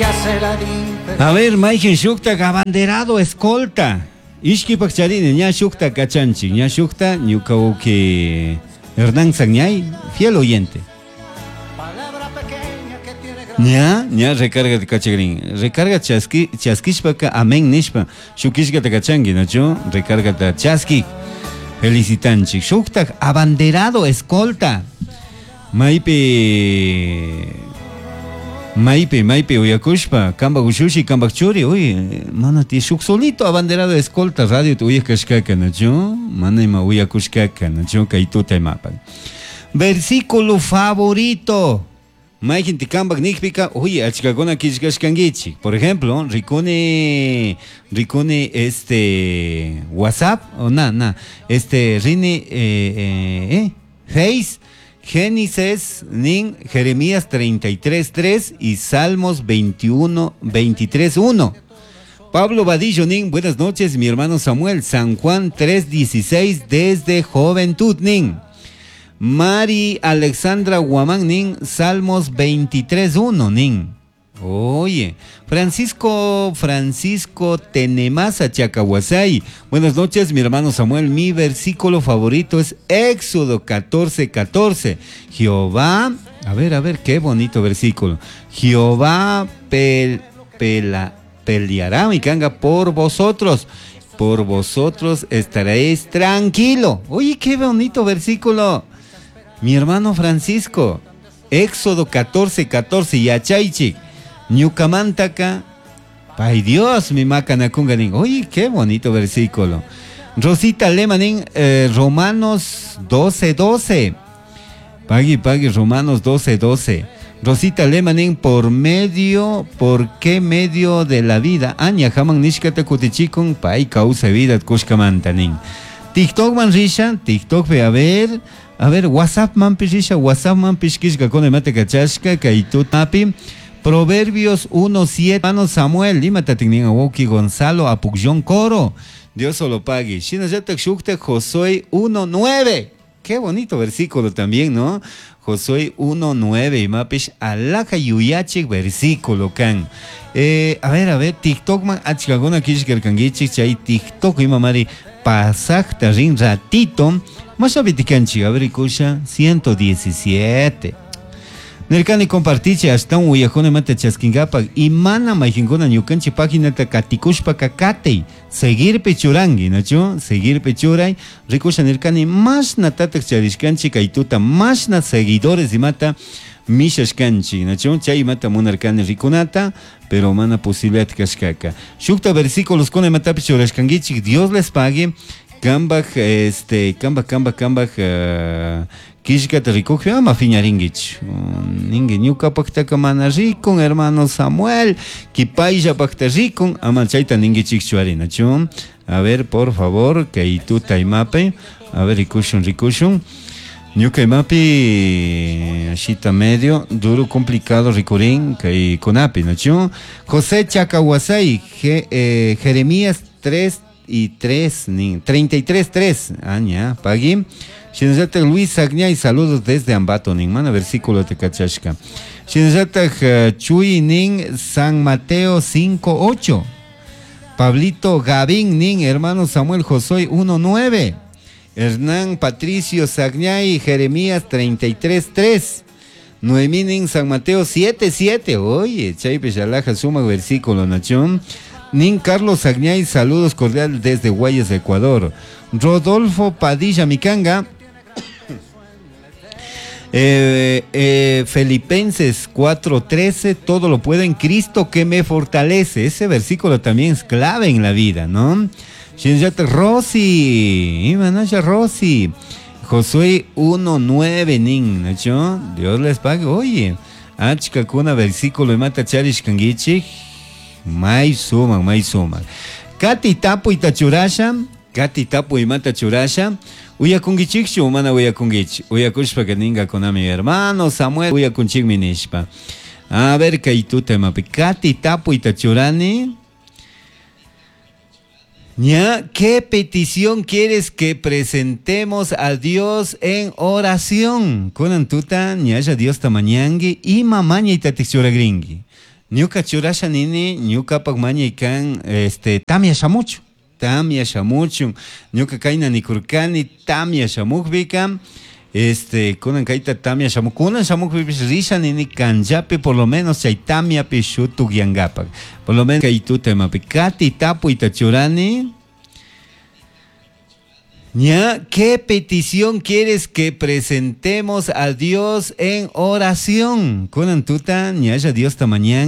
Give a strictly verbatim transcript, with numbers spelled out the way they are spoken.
Hace la diferencia. A ver, mayqin shukta abanderado escolta. Ishkipak charini, ña shukta kachanchik, ña shukta ñuka wawki Hernán Sagñay, fiel oyente. Palabra pequeña que tiene gran Ña, ña recarga kachagrin. Recarga chaski, chaskishpaka amén nishpa. Shukishkata kachanki, ¿no? Recarga chaski. Felicitanchik. Shukta abanderado escolta. Maypi Maypi, maypi uyakushpa, kambak ushushi, kambak churi, uy, mana ti shuk solito abanderado escolta radio te uyakashkaka, ¿no? Mana ima uyakushkaka, ¿no? Kay tuta imapak. Versículo favorito. Mayqin kambak nikpika, uy, achkakuna killkashkankichik. Por ejemplo, rikuni, rikuni este WhatsApp, o na, na, este rini, eh, eh, eh, Face, Génesis, nin, Jeremías treinta y tres, tres y Salmos veintiuno, veintitrés, uno. Pablo Vadillo, nin, buenas noches, mi hermano Samuel, San Juan tres, dieciséis, desde Juventud, nin. Mari Alexandra Guamán, nin, Salmos veintitrés, uno, nin. Oye, Francisco, Francisco Tenemasa Chacahuasay. Buenas noches, mi hermano Samuel. Mi versículo favorito es Éxodo catorce, catorce. Jehová, a ver, a ver, qué bonito versículo. Jehová pel-, pela-, peleará, mi canga, por vosotros. Por vosotros estaréis tranquilo. Oye, qué bonito versículo. Mi hermano Francisco, Éxodo catorce, catorce, yachaychik. Ñukamantaka, pay Dios, mi macanakunga nin. Oye, qué bonito versículo. Rosita Lemanin, eh, Romanos doce, doce. Pagui, pagui, Romanos doce, doce. Rosita Lemanin, por medio, ¿por qué medio de la vida? Aña, jaman nishkata kutichikun, pay causa vida, kushkamantanin. TikTok man risha, TikTok ve a ver, a ver, WhatsApp man pishisha, WhatsApp man pishkishka con mate kachashka, kaitu mapi. Proverbios uno, siete, hermano Samuel, Lima Tatignin Awoki, Gonzalo Apugllón Coro, Dios solo pague. Shinayatak Shukta, Josué uno, nueve. Qué bonito versículo también, ¿no? Josué uno, nueve, y mapish alaja yuyachik versículo kan. Eh, a ver, a ver, TikTok man, achkaguna kishkerkangichik, chay TikTok imamari pasajta rin ratito. Mashabitikanchik, a ver, ikusha, ciento diecisiete. Nerkani compartiche hasta un uyajone mate chaskingapak y mana mayjinkuna ñukanchi página ta katikushpa kakatei seguir pechurangi, ¿no? Seguir pechuray rikusha nerkani más natatak charishkanchi kaituta más na seguidores y mata mishashkanchi, ¿no? Chay mata munarkani rikunata, pero mana posibilidad kashkaka. Shukta versículos con mata pechurashkangichik, Dios les pague. Kambaj, este, kambaj, kambaj, kambaj, eh, kishkata rikukpi ama fiñaringuich. Ningue ñuka paktaka mana rikun, hermano Samuel, kipaylla pakta rikun, ama chayta ninguichikchu arinachu. A ver, por favor, kay tuta imape. A ver, rikushun, rikushun. Ñuka imapi, ashita medio, duro, complicado, rikurin, kay kunapi, nachu. José Chacahuasay, Je, eh, Jeremías tres y tres, ni, treinta y tres, tres, aña, pagui. Shinazata Luis Agñay, saludos desde Ambato, nin, mana versículo te cachashka. Shinazata, eh, Chuy, nin, San Mateo cinco, ocho. Pablito Gavín, nin, hermano Samuel Josué uno, nueve. Hernán Patricio Sagñay, Jeremías treinta y tres, tres. Noemí, nin, San Mateo siete, siete. Oye, Chaype Yalaja, suma versículo, nachón. Nin Carlos Agñay, saludos cordial desde Guayas, Ecuador. Rodolfo Padilla Micanga. Eh, eh, Filipenses cuatro trece, todo lo puedo en Cristo que me fortalece. Ese versículo también es clave en la vida, ¿no? Shinjate Rosy, Imanaya Rosy. Josué uno nueve, nin, ¿no? Dios les pague. Oye, achkakuna versículo y mata charish kangichi. May suma, may suma. Kati tapu itachurasha, Kati tapu imata churasha. Uyakungichikchu, mana uyakungichi. Uyakushpa que ninga con mi hermano Samuel, uyakunchik minishpa. A ver, kaituta mapi. Kati tapu itachurani. Ña, ¿qué petición quieres que presentemos a Dios en oración? Kunan tuta, ñaya Dios tamañangui, ima maña itatichuragringui. Ñuka churasha nini, ñukapak mañay kan, este, tamia shamuchu. Tamia shamuchun. Ñuka kayna nikurkani, tamia shamukpika, este, kunan kayta tamia shamuk, kunan shamukpipish risha nini kanllapi por lo menos chay tamiapi shutukyankapak. Por lo menos kay tuta imapi kati tapuyta churani. Ña, ¿qué petición quieres que presentemos a Dios en oración? Kunan tuta, ñalla Dios ta mañan.